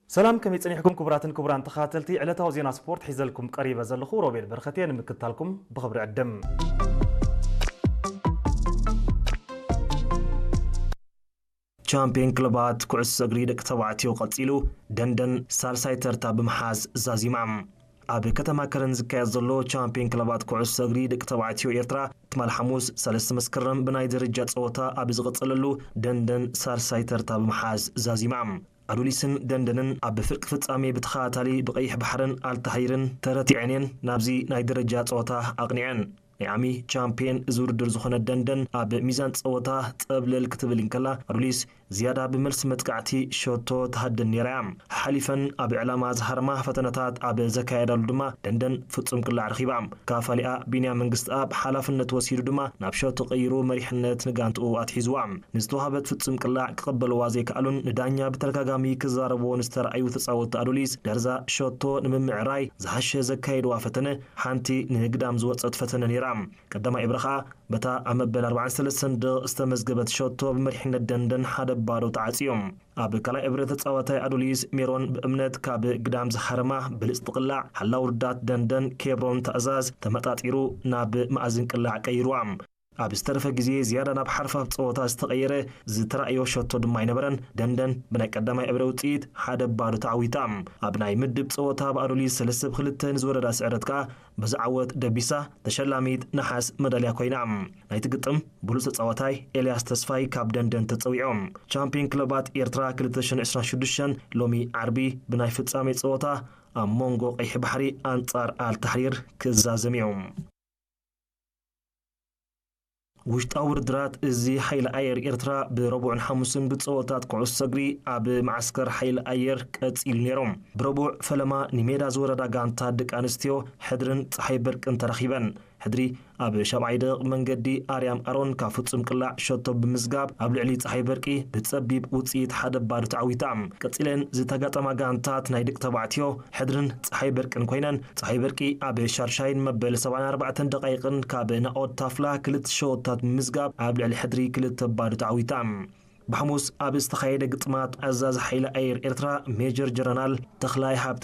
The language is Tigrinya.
ሰላም፣ ከመይ ጸኒሕኩም ክቡራትን ክቡራን ተኸታተልቲ ዕለታዊ ዜና ስፖርት? ሒዘልኩም ቀሪበ ዘለኹ ሮቤል በረኸት እየ። ንምክትታልኩም ብኽብሪ ዕድም። ቻምፒዮን ክለባት ኩዕሶ እግሪ ደቂ ተባዕትዮ ቀጺሉ፣ ደንደን ሳልሳይ ተርታ ብምሓዝ ዛዚማ። ኣብ ከተማ ከረን ዝካየድ ዘሎ ቻምፒዮን ክለባት ኩዕሶ እግሪ ደቂ ተባዕትዮ ኤርትራ፣ ትማል ሓሙስ ሰለስተ መስከረም ብናይ ደረጃ ጸወታ ኣብ ዝቐጸለሉ፣ ደንደን ሳልሳይ ተርታ ብምሓዝ ዛዚማ። ኣዱሊስን ደንደንን ኣብ ፍርቂ ፍጻሜ ብተኸታታሊ ብቐይሕ ባሕርን ኣልታሂርን ተረቲዐን እየን ናብዚ ናይ ደረጃ ጸወታ ኣቕኒዐን። ናይ ዓሚ ቻምፒየን እዚ ውድድር ዝኾነ ደንደን ኣብ ሚዛን ጸወታ ጸብለል ክትብል እንከላ፣ ኣዱሊስ ዝያዳ ብመልሲ መጥቃዕቲ ሸቶ ትሃድን ነይራ እያ። ሓሊፈን ኣብ ዕላማ ዝሃርማ ፈተነታት ኣብ ዘካየዳሉ ድማ ደንደን ፍጹም ቅላዕ ረኺባ። ካፋሊኣ ቢንያም መንግስትኣብ ሓላፍነት ወሲዱ ድማ ናብ ሸቶ ቀይሩ መሪሕነት ንጋንትኡ ኣትሒዝዋ። ንዝተዋህበት ፍጹም ቅላዕ ክቕበልዋ ዘይከኣሉን ንዳኛ ብተደጋጋሚ ክዛረብዎ ንዝተረኣዩ ተጻወትቲ ኣዱሊስ፣ ደርዛ ሸቶ ንምምዕራይ ዝሓሸ ዘካየድዋ ፈተነ ሓንቲ ንህግዳም ዝወጸት ፈተነ ነይራ። ቀዳማይ እብረ ኸኣ በታ ኣብ መበል ኣርባዓን ሰለስተን ደቕ ዝተመዝገበት ሸቶ ብመሪሕነት ደንደን ሓደ ባዶ ተዓጽዮም። ኣብ ካልኣይ እብረ ተጻዋታይ ኣዱሊስ ሜሮን ብእምነት ካብ ግዳም ዝሃረማ ብልጽቲ ቅላዕ ሓላው ርዳት ደንደን ኬብሮን ትእዛዝ ተመጣጢሩ ናብ መኣዝን ቅላዕ ቀይርዋ። ኣብ ዝተረፈ ግዜ ዝያዳ ናብ ሓርፋፍ ጸወታ ዝተቐየረ ዝተራእዮ ሸቶ ድማ ኣይነበረን። ደንደን ብናይ ቀዳማይ እብረ ውጽኢት ሓደ ባዶ ተዓዊታ። ኣብ ናይ ምድብ ጸወታ ብኣዱሊስ ሰለስተ ብ ክልተ ንዝወረዳ ስዕረት ከኣ በዚ ዓወት ደቢሳ ተሸላሚት ነሓስ መዳልያ ኮይና። ናይቲ ግጥም ብሉጽ ተጻዋታይ ኤልያስ ተስፋይ ካብ ደንደን ተጸዊዖም። ቻምፒዮን ክለባት ኤርትራ ክልተ ሽሕን ዕስራን ሽዱሽተን ሎሚ ዓርቢ ብናይ ፍጻሜ ጸወታ ኣብ መንጎ ቀይሕ ባሕሪ ኣንጻር ኣልታሕሪር ክዛዘም እዩ። ውሽጣዊ ውድድራት እዚ ሓይሊ ኣየር ኤርትራ ብረቡዕን ሓሙስን ብጸወታት ኩዕሶ እግሪ ኣብ መዓስከር ሓይሊ ኣየር ቀጺሉ ነይሮም። ብረቡዕ ፈለማ ንሜዳ ዝወረዳ ጋንታ ደቂ ኣንስትዮ ሕድርን ጸሓይ በርቅን ተራኺበን። ሕድሪ ኣብ ሻብዓይ ደቂቕ መንገዲ ኣርያም ኣሮን ካብ ፍጹም ቅላዕ ሸቶ ብምዝጋብ ኣብ ልዕሊ ጸሓይ በርቂ ብጸቢብ ውጽኢት ሓደ ባዶ ተዓዊታ። ቀጺለን ዝተጋጠማ ጋንታት ናይ ደቂ ተባዕትዮ ሕድርን ጸሓይ በርቅን ኮይነን፣ ጸሓይ በርቂ ኣብ ሻድሻይን መበል ሰብዓን ኣርባዕተን ደቃይቕን ካብ ናኦድ ታፍላ ክልተ ሸወታት ብምዝጋብ ኣብ ልዕሊ ሕድሪ ክልተ ባዶ ተዓዊታ። ብሓሙስ ኣብ ዝተኻየደ ግጥማት ኣዛዚ ሓይሊ ኣየር ኤርትራ ሜጀር ጀነራል ተኽላይ ሃብተ